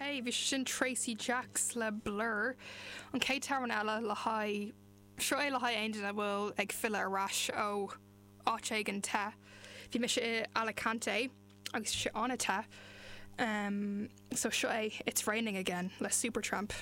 Ok, bhí sé sin Tracy Jacks le Blur. An chéad t-amhrán eile le haghaidh, seo é le haghaidh aon duine a bhfuil ag filleadh ar ais ó áit éigin te. Bhí mise i Alicante agus bhí sé an-te. Um, so seo é It's Raining Again le Supertramp.